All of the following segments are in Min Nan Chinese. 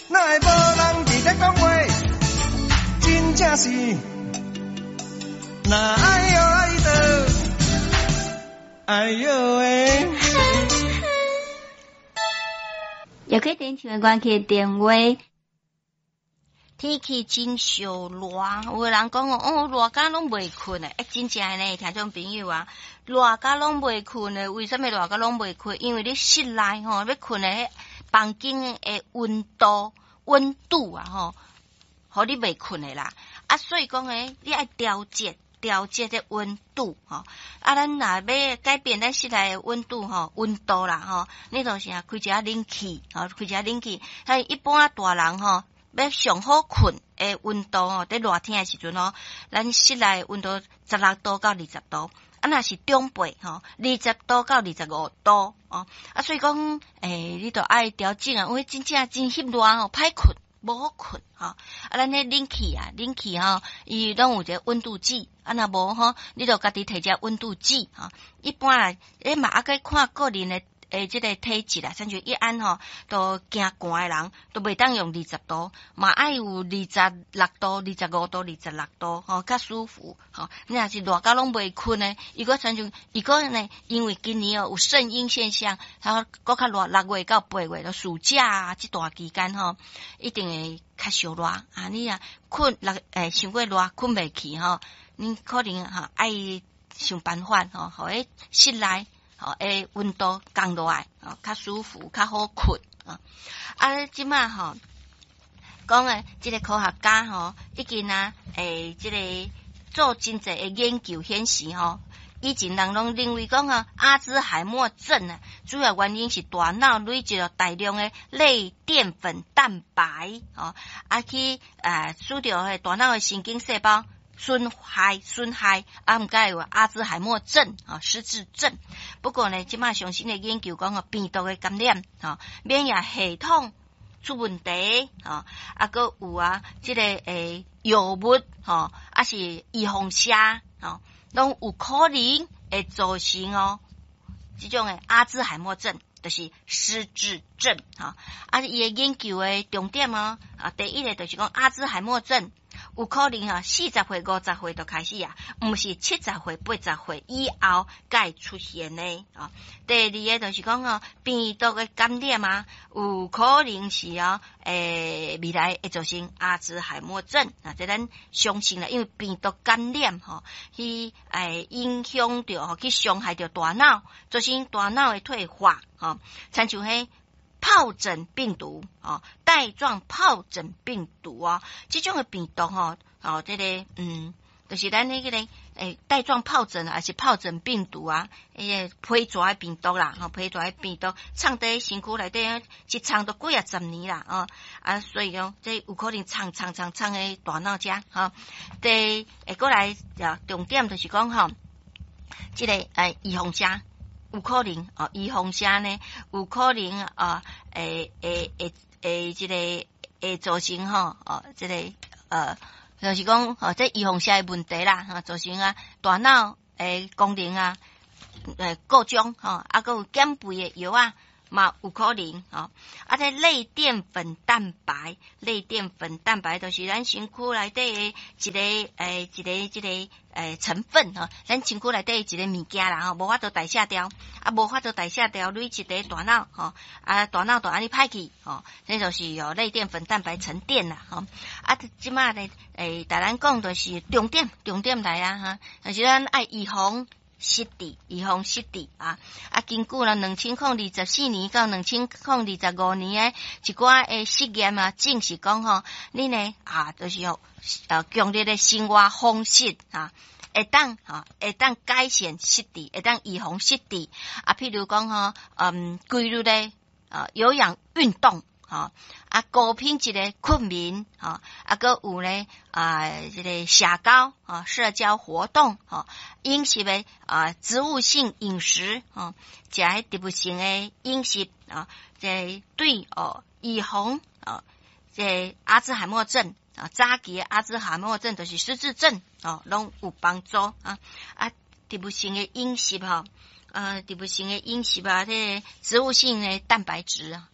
哪會無人佇咧講話？真正是，若愛喲愛的，哎喲喂！也可以點唱歌曲電話。天氣真燒熱，有的人講哦，熱甲攏袂睏的，欸，真正的呢，聽眾朋友啊，熱甲攏袂睏的，為啥物熱甲攏袂睏？因為你室內吼，欲睏的彼房間的溫度溫度啊吼，予你袂睏的啦。啊，所以講呢，你愛調節調節這溫度吼。啊，咱若欲改變咱室內的溫度吼，溫度啦吼，你就是啊開一下冷氣，吼，開一下冷氣。像一般大人吼，欲上好睏的溫度吼，佇熱天的時陣吼，咱室內溫度16度到20度。啊，若是長輩吼，20度到25度哦。啊，所以講，欸，你著愛調整啊，因為真正真翕熱吼，歹睏，無好睏吼。啊，咱彼冷氣啊，冷氣吼，伊攏有一個溫度計。啊，若無吼，你著家己提一個溫度計吼。一般啦，你嘛猶閣看個人的。欸，這個體質啦，親像一按吼，都驚寒的人，都袂當用二十度，嘛愛有26度、25度、26度，吼，較舒服，吼。你若是熱甲攏袂睏的，伊閣親像，伊閣呢，因為今年哦有聖嬰現象，它閣較熱，6月到8月，就暑假啊，這段期間吼，一定會較燒熱啊！你若睏六欸，傷過熱，睏袂去吼，你可能吼愛想辦法吼，予彼室內。吼，欸，溫度降落來，吼，較舒服，較好睏啊。啊，這馬吼講的這個科學家吼，已經啊，欸，這個做真濟的研究顯示吼，以前人攏認為講啊，阿茲海默症啊，主要原因是大腦累積了大量的類澱粉蛋白，吼，啊去啊，使著彼大腦的神經細胞。損害損害，啊，毋過有阿茲海默症啊，失智症。不過呢，這馬上新的研究講哦，病毒的感染，吼，免疫系統出問題，吼，啊，閣有啊，這個欸藥物，吼，抑是預防射，吼，攏有可能會造成哦，這種的阿茲海默症，就是失智症，吼。啊，伊的研究的重點哦，啊，第一个就是講阿茲海默症。有可能啊，40歲、50歲就開始啊，毋是70歲、80歲以後才會出現的啊。第二个就是講哦，病毒的感染啊，有可能是哦，欸，未來會造成阿茲海默症啊。這咱相信啦，因為病毒感染吼，去欸影響著吼，去傷害著大腦，造成大腦的退化吼，親像彼疱疹病毒哦，帶狀疱疹病毒哦，這種的病毒吼哦，這個就是咱彼個欸帶狀疱疹還是疱疹病毒啊，彼個皮蛇的病毒啦，吼皮蛇的病毒，藏佇身軀內底，一藏都幾仔十年啦，哦啊，所以講這有可能藏藏藏藏佇大腦遮吼。第會過來啊，重點就是講吼，這個欸預防射。有可能哦，預防射呢，有可能啊，會會會會這個會造成吼哦，這個就是講哦，這預防射的問題啦，吼，造成啊大腦的功能啊，故障吼，啊，閣有減肥的藥啊，嘛有可能吼。啊，這類澱粉蛋白，類澱粉蛋白就是咱身軀內底的一個欸，一個這個欸成分吼，咱身軀內底一個物件啦吼，無法度代謝掉，啊，無法度代謝掉，累積佇大腦吼，啊，大腦就按呢歹去吼，這就是哦類澱粉蛋白沉澱啦吼。啊，這馬咧欸，逐咱講就是重點，重點來啊哈，就是咱愛預防失智，預防失智啊！啊，根據啦2024年到2025年的一寡的實驗啊，證實講吼，你呢啊，就是哦，強烈的生活方式啊，會當吼，會當改善失智，會當預防失智啊。譬如講吼，規律的啊有氧運動。吼啊，高品質的睏眠，吼啊，閣有呢啊，這個社交啊，社交活動，吼飲食的啊，植物性飲食，吼食彼植物性的飲食啊，這對哦預防啊，這阿茲海默症啊，早期的阿茲海默症就是失智症哦，攏有幫助啊啊，植物性的飲食吼，植物性的飲食啊，這個植物性的蛋白質啊。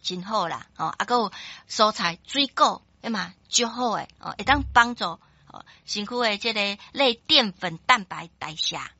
真好啦，哦，啊，閣有蔬菜、水果，彼嘛足好的，哦，會當幫助身軀的這个類澱粉蛋白代謝。